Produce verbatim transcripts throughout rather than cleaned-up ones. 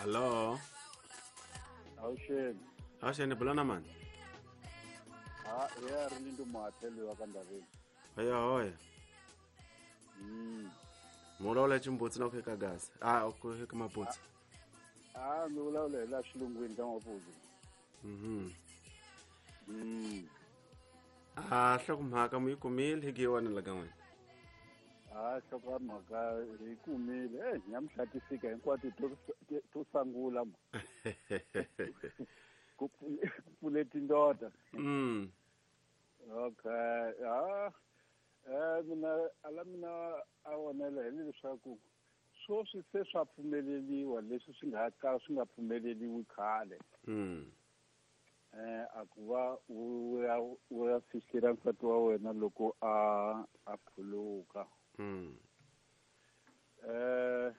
Allo. Awuxeni. Awuxeni bulana mani. Ha ya ri ndi muhatheli wa ka Ndaveni. Hoya hoya. Mm. Mulola chimbutsi na ku gas. Ah ku heka mabutsi. Ah mi vulavula hi la xilungwini ka mapudzi. Mhm. Mm. Ah hlokomhaka mu yi kumile hi giwana la ka n'wina. Ah hlokomhaka hi kumile. Eh nyamuhla ti fika hinkwato to to sangula ma. Ku pfule tindoda. Mm. Okay. Ah eh mina ala mina a vonela hi leswaku sweswi se swa pfumeleliwa leswi swi nga ka swi nga pfumeleliwi khale. Mm. Eh a ku va u ya u ya fihlela nsati wa wena loko a a phuluka. Mm. Eh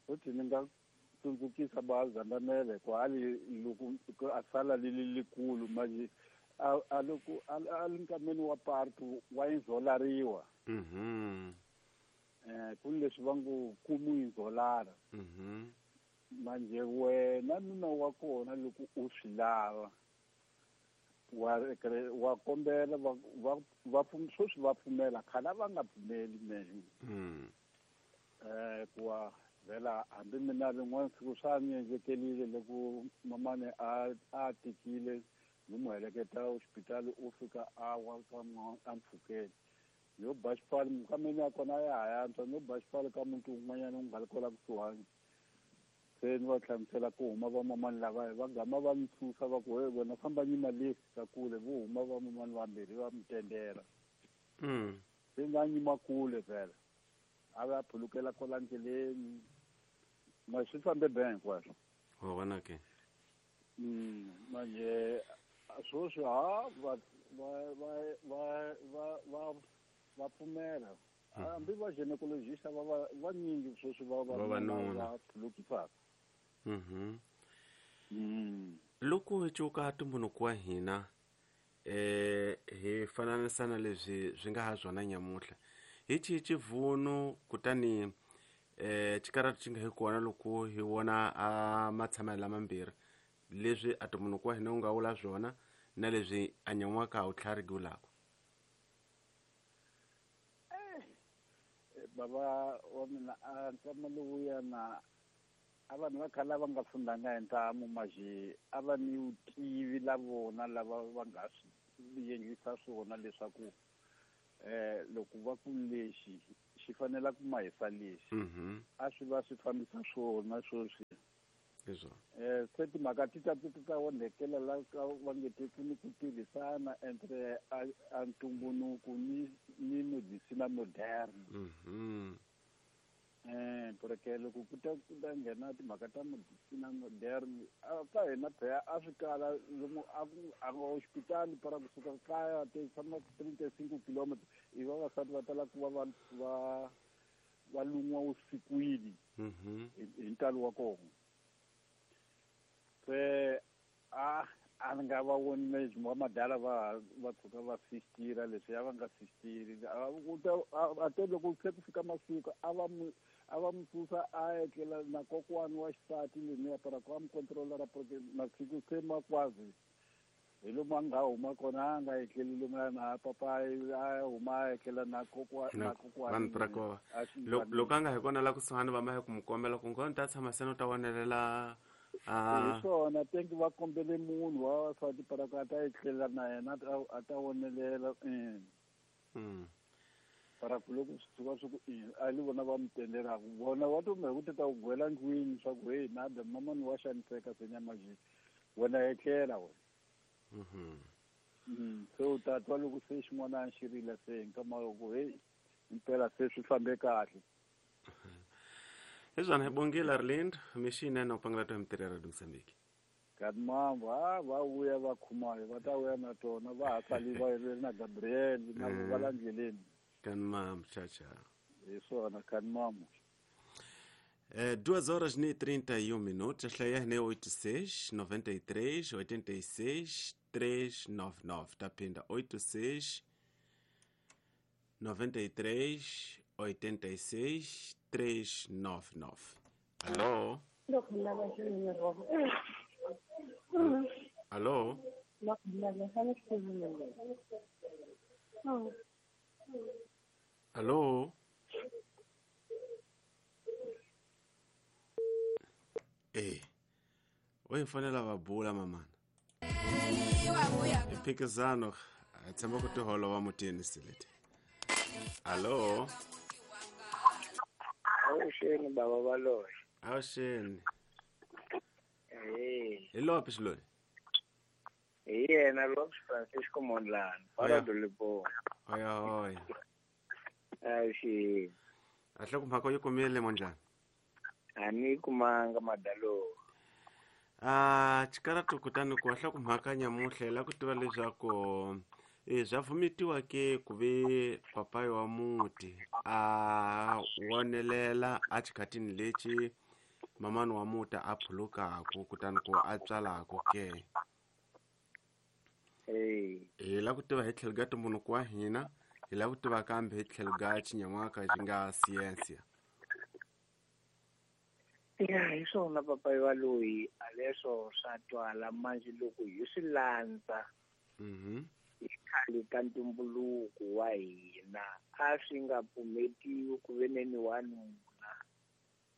futhi ni nga tsundzukisa bazandamele kwali loko a sala lili likulu manje a a loko a linkameni wa partu wa inzolariwa. Mhm. Eh ku leswi va ngo kumu inzolara. Mhm. Manje wena nuna wa kona loko u swi lava wa wa kombela va va va sweswi va pfumela khale va nga pfumeli mehe. Mm. Eh kuwa vela hambi mina rin'wana siku swa ni endlekelile loko mamani a a tikile ni n'wi heleketa hospitali u fika a wa ka a mpfhukeni yo ba xipfalo mukameni ya kona ya ha yantswa no ba xipfalo ka muti wun'wanyana wu nga ri kwala kusuhani se ni va hlamusela ku huma vamamani lava va gama va mi susa va ku he wena famba nyima le ka kule vo huma vamamani vambirhi va mi tendela. Mm. Se nga nyima kule vhela a va phulukela kwala ndleleni ma swi fambe be hinkwaswo. Wa vona ke. Mm manje sweswi ha va va va va va va va pfumela hambi va gynecologist va va vanyingi sweswi va va va phulukisaka. Mhm. Mm. Loko hi cuka ntumbuluko wa hina eh hi fananisana leswi swi nga ha swona nyamuhla hi xihi xivuno kutani eh xikarhati xi nga hi kona loko hi vona a matshamelo lamambirhi leswi a ntumbuluko wa hina wu nga vula swona na leswi a nyan'waka a wu tlhariki vulaka. Eh baba wa mina a nkama lowuya na a vanhu va khale va nga fundanga hi ntamu maje a va ni vutivi la vona lava va nga swi endlisa swona leswaku eh loko va ku lexi xi fanela ku mahisa lexi. Mhm. A swi va swi fambisa swona sweswi. Leswo. Eh se timhaka ti ta ti ta onhekela la ka va nge te ni ku tirhisana entre a ntumbuluko ni ni medicina moderne. Mhm. Eh porque loko ku ta ku ta nghena timhaka ta medicina moderne a ka hina phela a swi kala lomu a ku a hospitali para kusuka kaya te tshama trinta e cinco quilômetros i vavasati va tala ku va va va va lun'wa usikwini. Mhm. Hi ntalo wa kona. Se a a nga va voni leswi va madala va va tshuka va sistira leswi a va nga sistiri a te loko se ku fika masiku a va mu a va mu susa a etlela na kokwani wa xisati leniya para ku a mi controlara porque masiku se ma kwazi hi lomu a nga huma kona a nga etleli lomuya na papayi a huma a etlela na kokwa na kokwani vanhu pra loko a nga hi kona la kusuhani va ma hi ku mu kombela ku ngoni ta tshama seni u ta vonelela. Ah. Hi swona tenki va kombele munhu wa vavasati para ku a ta etlela na yena a ta vonelela. Mm. Para ku loko swi tshuka swi ku a li vona va mi tendelaka vona va to ku ta ku gwela ndlwini swa ku hey nada mamani wa xaniseka se nyamajini wena etlela wena. Mhm. Mm se u ta twa loko se xin'wana xi rila se nkama loko hey impela se swi fambe kahle. Hezwana hi bongile Arlindo mixini na upangela to mtirera do Mozambique. Kadmambo ha va vuya va khumayo va ta vuya na tona va ha sali va ri na Gabriel na va la ndleleni. Kanmam chacha. Hi swona kanmam. Eh duas horas e trinta e um minutos, hlaya ne oito seis, noventa e três, oitenta e seis, três nove nove. Tapinda oito seis, noventa e três, oitenta e seis, três nove nove. Alô? Allo? Allo? Eh. Oye fanela va bula mamana. Phikizano a tshemba ku tiholo wa mutini silete. Allo? Awuxeni baba Baloyi. Awuxeni. Eh. Hi lopi xilori? Hi yena Lopes Francisco Mondlane, para do Limpopo. Oya oya. Awuxeni. Ahle ku mhaka yi kumile Mondlane. A ni kumanga madalo. Ah, xikaratu kutani ku ahla ku mhaka nyamuhla la ku tiva leswaku e swa vumitiwa ke ku ve papayi wa muti a wonelela a xikhatini lexi mamani wa muti a phulukaku kutani ku a tswalaku ke. Eh. Hi la ku tiva hi tlhelo ka ntumbuluko wa hina, hi la ku tiva kambe hi tlhelo ka xinyan'waka xi nga siyensiya. Ya hi swona papayi wa loyi a leswo swa twala manje loko hi swi landza. Mhm. Hi khale ka ntumbuluko wa hina a swi nga pfumetiwi ku ve neni wanuna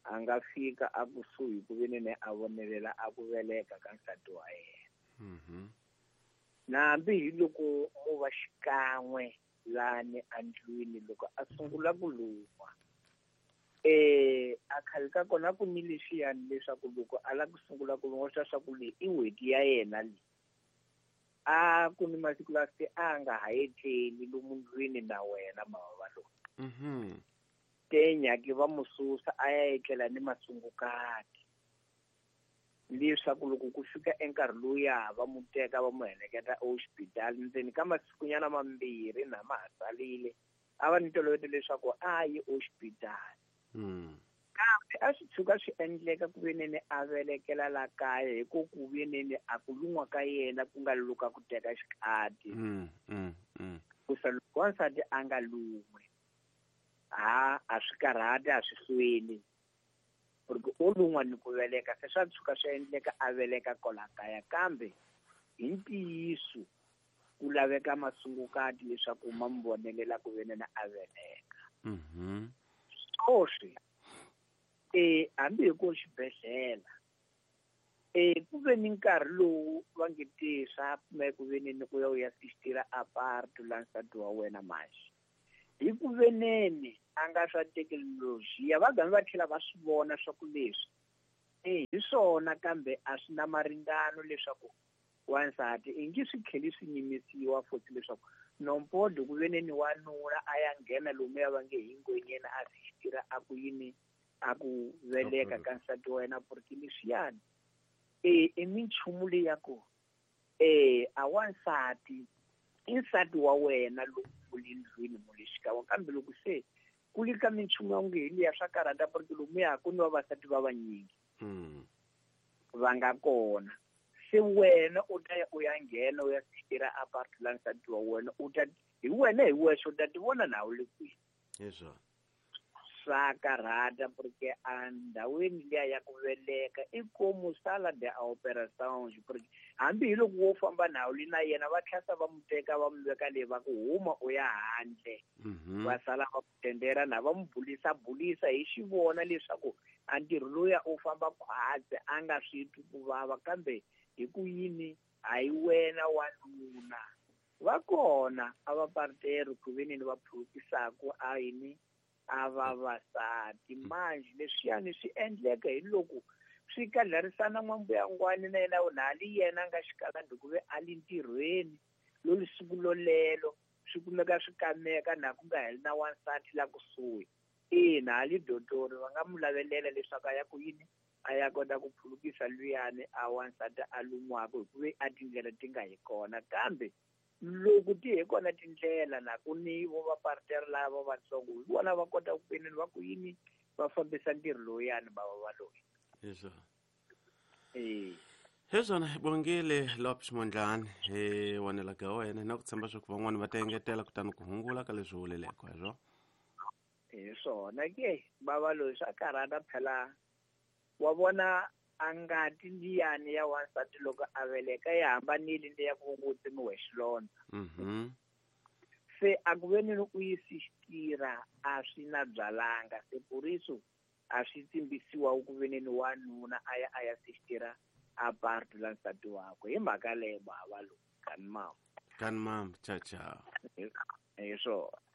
a nga fika a kusuhi ku ve neni a vonelela a ku veleka ka nsati wa yena. Mhm. Nambi hi loko mo va xikan'we lani andlwini loko a sungula ku luma. Eh a khale ka kona ku ni lexiyani leswaku loko a lava ku sungula ku luma swa swa ku leyi i n'hweti ya yena leyi. A ku ni masiku lawa se a nga ha etleli lomu ndlwini na wena mama va loyi. Mhm. Te nyaki va mu susa a ya etlela ni masungukati. Leswaku loko ku fika enkarhi lowuya va mu teka va mu heleketa exibedhlele ndzeni ka masikunyana mambirhi na ma ha salile a va ni ntolovelo leswaku a yi exibedhlele. Mm. Kambe a swi tshuka swi endleka ku ve nene a velekela la kaya hi ku ku ve nene a ku lun'wa ka yena ku nga luka ku teka xikhati. Mm, mm, mm. Ku sa loko wansati a nga lun'wi ha a swi karhati a swi hlweli porque o lun'wa ni ku veleka se swa tshuka swi endleka a veleka kwala kaya kambe hi ntiyiso ku laveka masungukati leswaku ma mu vonelela ku ve nene a veleka. Mhm. Swoswi eh hambi hi ku xibedhlele eh ku ve ni nkarhi lowu va nge te swa pfumela ku ve neni ku ya u ya assistira apart la nsati wa wena manje hi ku ve neni a nga swa thekinoloji va gami va tlhela va swi vona swa ku leswi eh hi swona kambe a swi na maringano leswaku wansati i nge swi tlheli swi nyimisiwa futhi leswaku nompodo ku ve neni wanuna a ya nghena lomuya va nge hi ngwenyeni a assistira a ku yini a ku veleka ka nsati wa wena porque leswiyani eh i minchumu leyi ya ku eh a wansati i nsati wa wena loko u le ndlwini mu le xikan'we kambe loko se ku le ka minchumu ya nge hi liya swa karhata porque lomuya ku ni vavasati va vanyingi Mm. va nga kona se wena u ta ya u ya nghena u ya assistira apart la nsati wa wena u ta hi wena hi wexe u ta ti vona na u le kwihi. Hi swona. Swa karhata porque a ndhawini liya ya ku veleka i komu sala de a operação porque hambi hi loko wo famba na wu na yena va tlhasa va mu teka va mu veka leyi va ku huma u ya handle. Mhm. Va sala va ku tendera na va mu bulisa bulisa hi xivona leswaku a ntirho lowuya u famba khwatsi a nga swi twi ku vava kambe hi ku yini a hi wena wanuna. Va kona a va partero ku ve neni va phulukisaku a yini a vavasati manje leswiyani swi endleka hi loko swi kadlarisana n'wambuyangwani na yena na ali yena a nga xikalandi ku ve a li ntirhweni lolu siku lolelo swi kumeka swi kameka na ku nga heli na wansati la kusuhi. Ina ali dotori va nga mu lavelela leswaku a ya ku yini a ya kota ku phulukisa luyani a wansati a lun'waka hi ku ve a tindlela ti nga hi kona kambe loko ti hi kona tindlela na ku ni vo va parter lava vatsongo hi vona va kota ku veneni va ku yini va fambisa ntirho lowuyani va va loyi. Hi swona. Eh. Hi swona hi bongile Lopes Mondlane hi wanela ka wena na ku tshemba swa ku van'wani va ta engetela kutani ku hungula ka leswi vuleleke hi swona. Hi swona ke bava loyi swa karhata phela Wa vona a ngati liyani ya wansati loko a veleka yi hambanile le ya ku ngo tsemiwe xilondza. Mhm. Se a ku ve ni u yi sixtira a swi na byalanga, se puriso a swi tsimbisiwa ku ve ni wanuna a ya a ya sixtira a partu la nsati wakwe. Hi mhaka leyo bava lowu kani mama. Kani mama, ciao ciao. Hi swona.